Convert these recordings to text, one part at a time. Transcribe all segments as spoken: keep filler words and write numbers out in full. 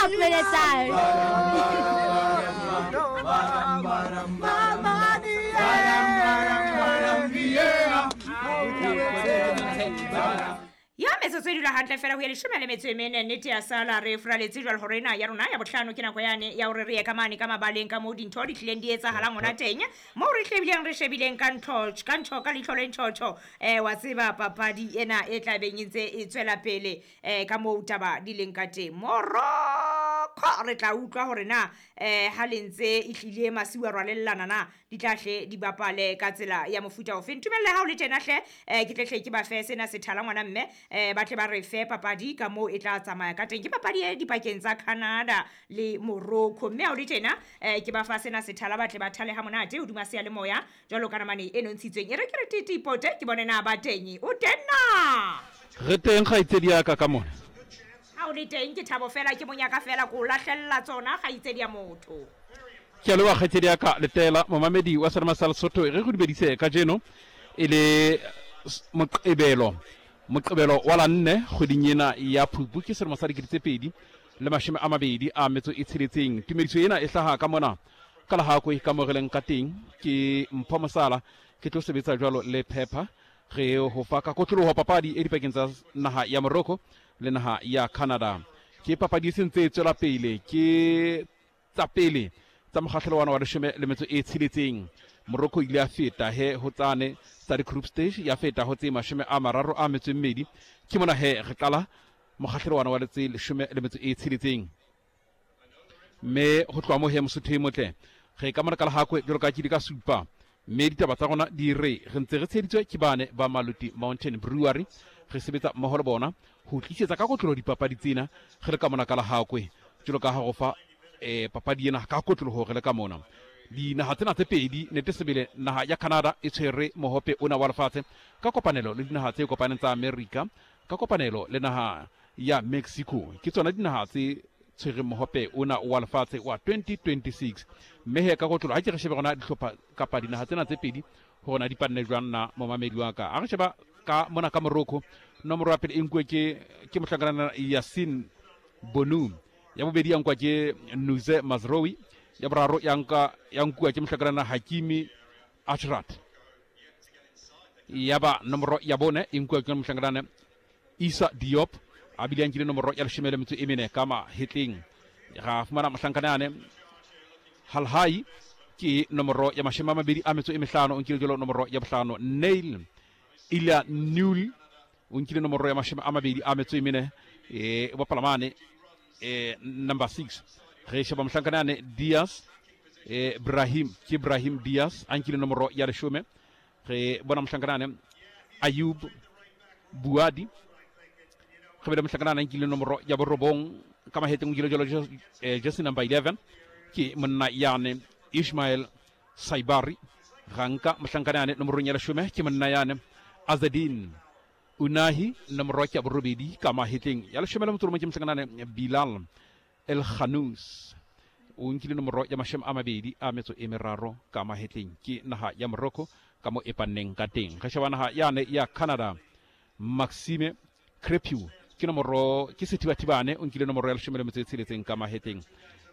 Peletsang. Ya metsotso e dula hantle fela ho ya leshome le metso e mene, nnete ya sala re furaletse jwale hore ena ya rona ya bohlano ke nako yane ya hore re ye ka mane ka mabaleng ka moo dintho di tlileng di etsahalang hona teng, moo re hlebileng re shebileng ka ntho ka ntho ka leihlo le ntjhotjho. Eh wa tseba papadi ena e tla beng e ntse e tswela pele eh ka moo taba di leng ka teng. Morocco re tla utlwa hore na eh ha le ntse e hlile masiu a rwalellana na di tla hle di bapale ka tsela ya mofuta ofe. Ntumelle ha o le tjena hle eh ke tle hle ke ba fe sena sethala ngwana mme eh ba tle ba re fe papadi ka moo e tla tsamaya ka teng. Ke papadi e dipakeng tsa Canada le Morocco, mme ha o le tjena eh ke ba fa sena sethala ba tle ba thale ha monate hodima seyalemoya jwalo ka namane e nontshitsweng. E re ke re titipote ke bone na ba teng. O teng na? Re teng kgaitsedi ya ka ka mona. Ha o le teng ke thabo fela, ke monyaka fela ko lahlella tsona kgaitsedi ya motho. Ke a leboha kgaitsedi ya ka Letela, momamedi wa Serema sa Lesotho. Re go dumedise kajeno e le Moqebelo, Moqebelo wa la nne kgweding ena ya Phupu, ke selemo sa dikete tse pedi le mashome a mabedi a metso e tsheletseng. Tumediso ena e hlaha ka mona ka Lehakwe ka mo re leng ka teng. Ke Mpho Mosala, ke tlo sebetsa jwalo le Pepper. Re ho fa ka kotloloho papadi e dipakeng tsa naha ya Morocco le naha ya Canada. Ke papadi e sentse e tswela pele, ke tsa pele tsa mokgahlelo wa leshome le metso e tsheletseng. Morocco ile ya feta he ho tsane tsa di-group stage, ya feta ho tse mashome a mararo a metso e mmedi. Ke mona he re qala mokgahlelo wa wa tse leshome le metso e tsheletseng. Mme ho tloha moo he Mosotho e motle, re ka mona ka Lehakwe jwalo ka ke di ka supa. Mme ditaba tsa rona di re re ntse re tsheheditswe ke bane ba Maluti Mountain Brewery. Re sebetsa mmoho le bona ho tlisetsa ka kotloloho dipapadi tsena re le ka mona ka Lehakwe, jwalo ka ha go fa eh papadi ena ka kotloloho re le ka mona. Dinaha tsena tse pedi, nete sebele naha ya Canada e tshwere mohope ona wa lefatshe ka kopanelo le dinaha tse kopaneng tsa America, ka kopanelo le naha ya Mexico. Ke tsona dinaha tse tshwereng mohope ona wa lefatshe wa twenty twenty-six. Mme he ka kotlolo ha ke re shebe rona dihlopha kapa dinaha tsena tse pedi hore na di panne jwang na momamedi wa ka. A re sheba ka mona ka Morocco, nomoro ya pele e nkuwe ke ke mohlankana Yassine Bounou, ya bobedi ya nkwa ke Nuze Mazraoui, ya boraro ya nka ya nkuwa ke mohlankana Hakimi Achraf, ya ba nomoro ya bone e nkuwa ke mohlankana Issa Diop, a bile a nkile nomoro ya leshome le metso e mene ka mahetleng. Ra fumana mohlankana yane Halhai ke nomoro ya mashome a mabedi a metso e mehlano, o nkile jwalo nomoro ya bohlano. Nail Ila Nul o nkile nomoro ya mashome a mabedi a metso e mene, e bapala mane eh number six. Re sheba mohlankana yane Diaz, eh Brahim, ke Brahim Diaz a nkile nomoro ya leshome. Re bona mohlankana yane Ayub Buadi, re bele mohlankana a nkile nomoro ya borobong ka mahetleng, o nkile jwalo jersey number eleven ke monna yane Ismail Saibari. Ga nka mohlankana yane nomorong ya leshome ke monna yane Azadin Unahi, nomoro ya borobedi ka mahetleng. Ya leshome le motso o mong ke mohlankana yane Bilal El Khanous, o nkile nomoro ya mashome a mabedi a metso e meraro ka mahetleng. Ke naha ya Morocco ka mo e panneng ka teng. Re sheba naha yane ya Canada, Maxime Crepeau ke nomoro ke sethibathibane, o nkile nomoro ya leshome le metso e tsheletseng ka mahetleng.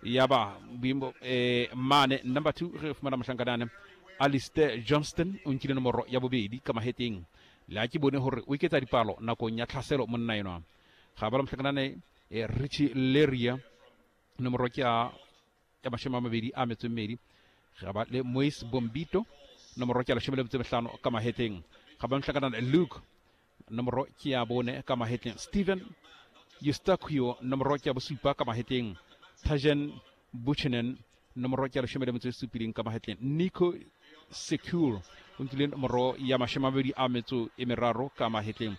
Ya ba boemo eh mane number two re fumana mohlankana Alistair Johnston, o nkile nomoro ya bobedi ka mahetleng. Le ha ke bone hore o iketsa dipalo nakong ya tlhaselo monna enwa. Ga ba la mohlankana eh Richie Leria, nomoro ke ya ya mashome a mabedi a metso e mmedi. Ga ba le Moise Bombito, nomoro ke ya leshome le metso e mehlano ka mahetleng. Ga ba mohlankana Luke, nomoro ke ya bone ka mahetleng. Steven Eustaquio, nomoro ke ya bosupa ka mahetleng. Tajen Buchanan, nomoro ke ya leshome le metso e supileng ka mahetleng. Nico Secure o nkile nomoro ya mashome a mabedi a metso e meraro ka mahetleng.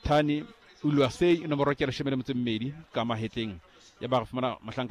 Tani Uluasei, nomoro ke ya leshome le metso e mmedi ka mahetleng. Ya ba re fumana mohlanka